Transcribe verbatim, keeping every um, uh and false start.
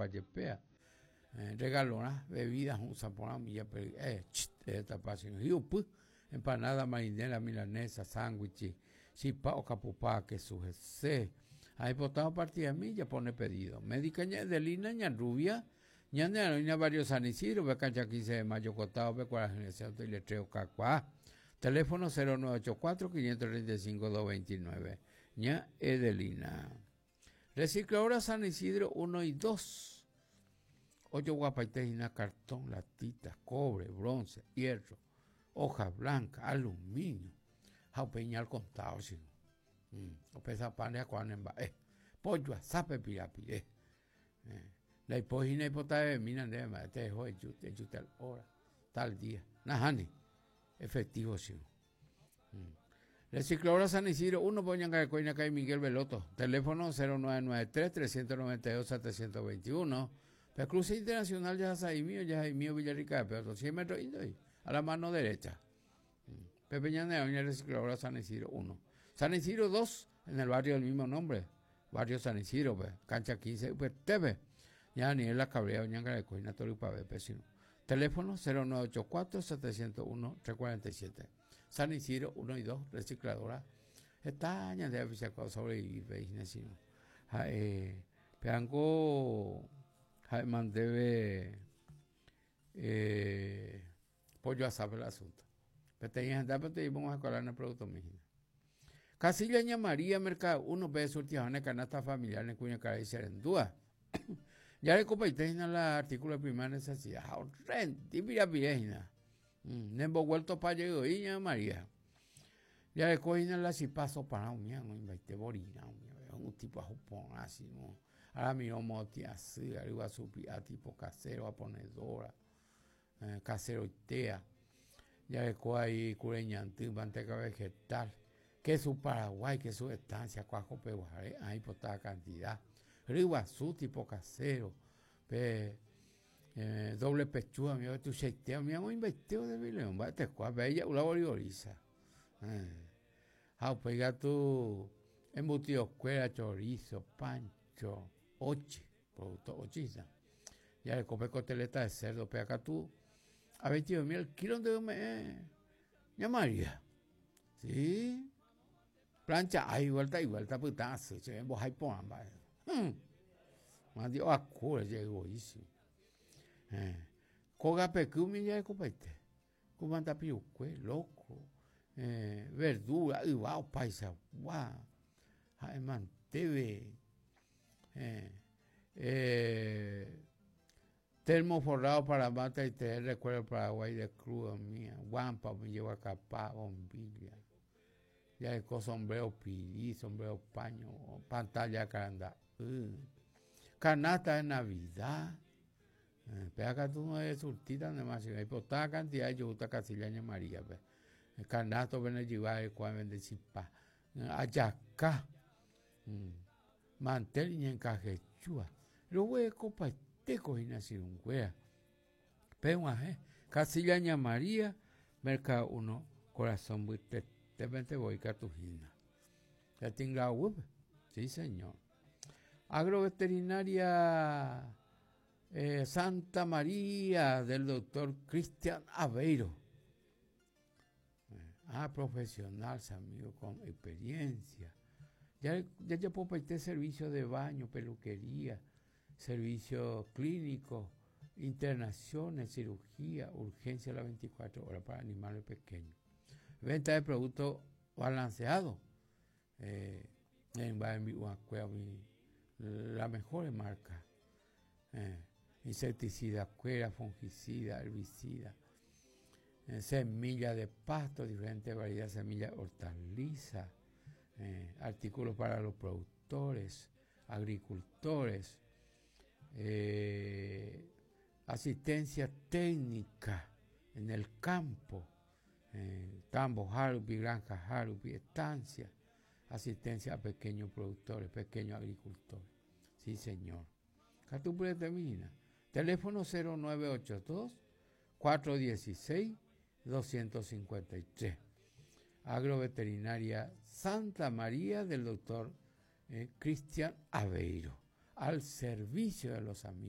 Jepea. Eh, regalorá, bebida, un milla, eh, empanada marinera, milanesa, sándwich, chipa o capupá, queso jese. Ahí potado partida milla, pone pedido. Médica Ña Ña Rubia, Ñane Aroina, Barrio San Isidro, cancha quince de mayo, Cotado, y Letreo Cacuá. Teléfono cero nueve ocho cuatro, quinientos treinta y cinco, doscientos veintinueve. Ña Edelina. Recicladora San Isidro uno y dos. Ocho guapaitejina, cartón, latitas, cobre, bronce, hierro, hoja blanca, aluminio. Jaupeñal contado, chico. Mm. O pesa pan de acuanemba. Eh. Pollo, azape, pirapiré. Eh. La hipógina hipota de mina, de ma, te dejo de yute, yute al hora, tal día. Najani. Efectivo, chico. Mm. Recicladora San Isidro, uno, Poñanga de Coina, calle Miguel Veloto. Teléfono cero nueve nueve tres, trescientos noventa y dos, setecientos veintiuno. La Cruz Internacional ya es mío, ya es mío Villarrica de Pedro, cien metros a la mano derecha. Pepe Ñaneo, Recicladora San Isidro uno. San Isidro dos, en el barrio del mismo nombre, barrio San Isidro, pues, cancha quince, pues, T V. Ya Daniel La Cabrera, Ñanga de Coina, Toripa, B, Teléfono cero nueve ocho cuatro, setecientos uno, trescientos cuarenta y siete. San Isidro uno y dos, recicladora. Está añadida sobrevivir, eh, Peango. Mandebe eh, pollo asado el asunto. Pero tenía gente, pero te íbamos a colar en el producto mío. Casilla Ña María, Mercado uno, B, surtijones, canasta familiar, en Cuña Cara y Serendúa. Ya le copaité en el artículo de primera necesidad. Renti, mira, pirejina. Nembo vuelto pa' llego y Ña María. Ya le cogí la chipazo para un mía, no invaite borina, un tipo a jupón así, no. Ahora miro moti así, arriba supi a tipo casero, a ponedora, eh, casero y tea. Ya le cojo ahí cureñantí, manteca vegetal, queso Paraguay, queso estancia, cuajo peguaré, ahí por toda cantidad. Riguazú tipo casero, pe, eh, doble pechuga, mi tu cheiteo, mi amo invertido de León, va te cuá, bella, una borigoriza. Eh. Ah, pega tu embutido, cuera, chorizo, pancho, oche, producto ochista. Ya le compré costeleta de cerdo, pega acá tú, a veintidós mil kilos de me, ya María. Sí. Plancha, ay, vuelta y vuelta, putazo, se ven vos ahí pon, va. Hmm. Más Dios acura, llegó easy. Eh. Coga pecu, ya de copete. Comanda piucue, loco. Eh, verdura, igual, paisa, guau. Ay, manteve. Eh, eh, termo forrado para mata y tener recuerdo Paraguay de crudo mía. Guampa, me llevo a capá, bombilla. Ya de sombrero pirí, sombrero paño, pantalla caranda. Uh. Canasta de Navidad. Eh, pero acá tú no eres surtida, nada más. Hay poca cantidad de yuta, Casilla María. Pues. Canasto, ven llevar el cual vende chipa. Ayacá. Mm. Mantel y encajechúa. Los huecos paitecos y nacieron cuea. Pero, eh. Casilla María, Mercado uno, corazón buite. De repente voy a Cartagena. Ya tengo la web. Sí, señor. Agroveterinaria eh, Santa María del doctor Cristian Aveiro. Ah, profesional, amigo, con experiencia. Ya, ya ya puedo pedir servicio de baño, peluquería, servicio clínico, internaciones, cirugía, urgencia a las veinticuatro horas para animales pequeños. Venta de productos balanceados. Eh, en la mejor marca. Eh, insecticida, cuera, fungicida, herbicida, eh, semilla de pasto, diferentes variedades de semillas, hortalizas, eh, artículos para los productores, agricultores, eh, asistencia técnica en el campo. Eh, tambo, Harupi, granja Harupi, estancia, asistencia a pequeños productores, pequeños agricultores. Sí, señor. Catupre termina. Teléfono cero nueve ocho dos, cuatro dieciséis, doscientos cincuenta y tres. Agroveterinaria Santa María del doctor eh, Cristian Aveiro. Al servicio de los amigos.